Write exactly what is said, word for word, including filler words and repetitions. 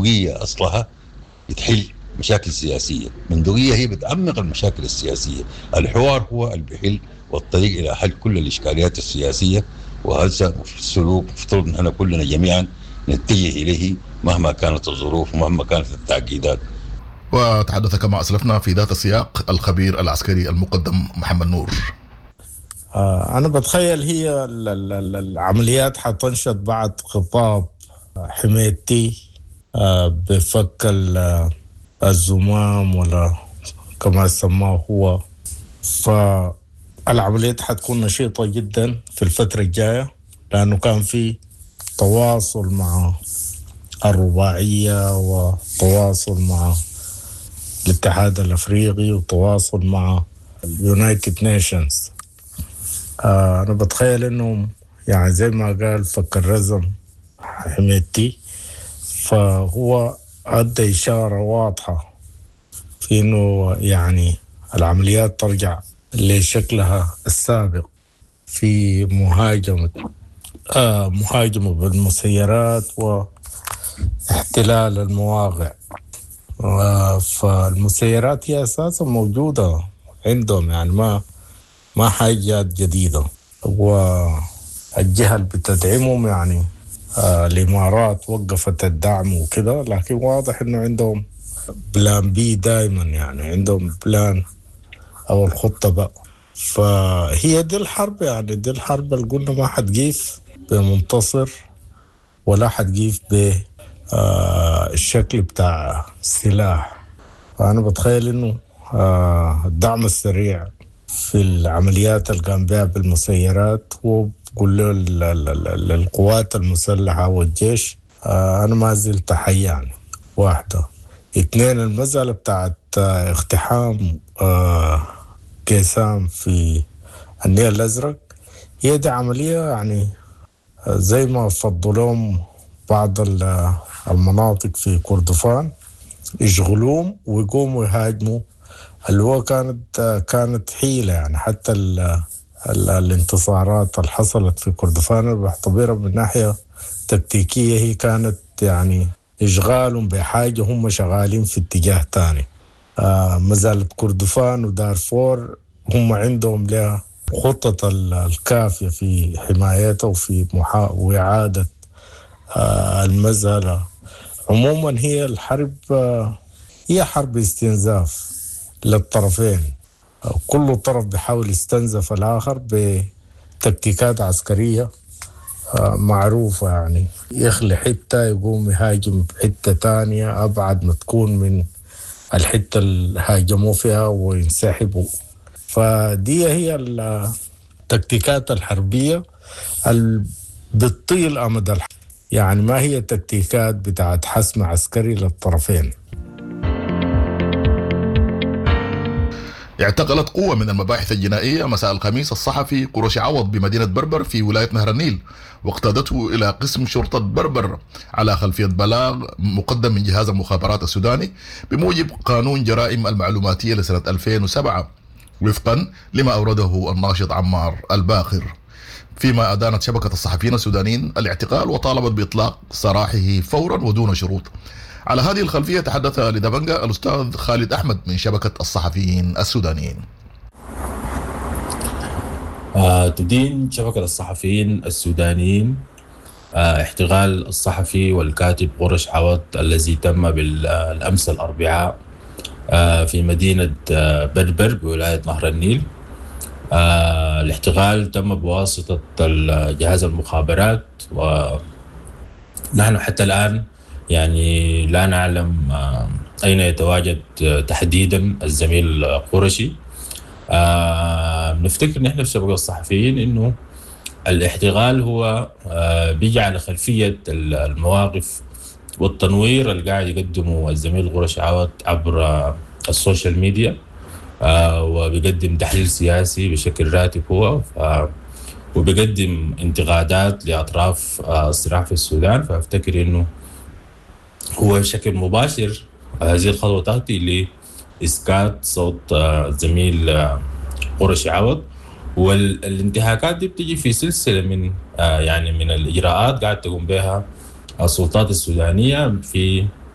بندقية اصلها بتحل مشاكل سياسية، بندقية هي بتعمق المشاكل السياسية، الحوار هو اللي بيحل والطريق الى حل كل الاشكاليات السياسية، وهذا السلوك مفترض ان كلنا جميعا نتجه اليه مهما كانت الظروف ومهما كانت التعقيدات. وتحدث كما أسلفنا في ذات السياق الخبير العسكري المقدم محمد نور. آه أنا بتخيل هي العمليات حتنشط بعد خطاب حميدتي آه بفك الزمام ولا كما سماه هو، فالعمليات حتكون نشيطة جدا في الفترة الجاية، لأنه كان في تواصل مع الرباعية وتواصل مع الاتحاد الأفريقي وتواصل مع ال United Nations. آه أنا بتخيل إنه يعني زي ما قال فك الرزم حميدتي، فهو أدى إشارة واضحة في إنه يعني العمليات ترجع لشكلها السابق في مهاجمة آه مهاجمة بالمسيرات واحتلال المواقع. آه فالمسيرات هي أساسا موجودة عندهم، يعني ما ما حاجات جديدة، والجهة اللي بتدعمهم يعني آه الإمارات وقفت الدعم وكده، لكن واضح إنه عندهم plan B دائما، يعني عندهم plan أو الخطة بقى. فهي دي الحرب، يعني دي الحرب اللي قلنا ما حتقيف بمنتصر ولا حتقيف بالشكل بتاع سلاح. فأنا بتخيل إنه آه الدعم السريع في العمليات اللي قام بها بالمسيرات وبقول له للقوات المسلحة والجيش آه أنا ما زلت حي، يعني واحدة. اثنين، المسألة بتاعت آه اقتحام آه كيسام في النيل الأزرق، هي دي عملية يعني زي ما فضلوهم بعض المناطق في كردفان يشغلوهم ويقوموا يهاجموا، اللي هو كانت كانت حيلة. يعني حتى ال ال الانتصارات اللي حصلت في كردفان بعتبرها من ناحية تكتيكية هي كانت يعني إشغالهم بحاجة هم شغالين في اتجاه تاني. آه ما زالت كردفان ودارفور هم عندهم لها خطة الكافية في حمايتها وفي محا... وإعادة آه المسألة. عموما هي الحرب آه هي حرب استنزاف للطرفين، كل طرف بيحاول يستنزف الآخر بتكتيكات عسكرية آه معروفة، يعني يخلي حتة يقوم يهاجم حتة تانية أبعد ما تكون من الحتة اللي هاجموا فيها وينسحبوا. فدي هي التكتيكات الحربية اللي بتطيل أمد الحرب، يعني ما هي تكتيكات بتاعت حسم عسكري للطرفين. اعتقلت قوة من المباحث الجنائية مساء الخميس الصحفي قرش عوض بمدينة بربر في ولاية نهر النيل، واقتادته إلى قسم شرطة بربر على خلفية بلاغ مقدم من جهاز المخابرات السوداني بموجب قانون جرائم المعلوماتية لسنة ألفين وسبعة وفقا لما أورده الناشط عمار الباخر. فيما أدانت شبكة الصحفيين السودانيين الاعتقال وطالبت بإطلاق سراحه فورا ودون شروط. على هذه الخلفية تحدث لدبنجا الأستاذ خالد أحمد من شبكة الصحفيين السودانيين. آه، تدين شبكة الصحفيين السودانيين آه، احتغال الصحفي والكاتب قرش عوض الذي تم بالأمس الأربعاء آه، في مدينة آه، بربر بولاية نهر النيل. آه، الاحتغال تم بواسطة جهاز المخابرات، ونحن حتى الآن يعني لا نعلم أين يتواجد تحديدا الزميل قرشي. نفتكر نحن في شبكة الصحفيين إنه الاحتغال هو بيجي على خلفية المواقف والتنوير اللي قاعد يقدمه الزميل قرشي عوض عبر ال social media، وبيقدم تحليل سياسي بشكل راتب هو، وبيقدم انتقادات لأطراف الصراع في السودان. فأفتكر إنه هو بشكل مباشر هذه الخطوة تأتي لإسكات صوت الزميل قرشي عوض، والانتهاكات دي بتجي في سلسلة من يعني من الإجراءات قاعد تقوم بها السلطات السودانية في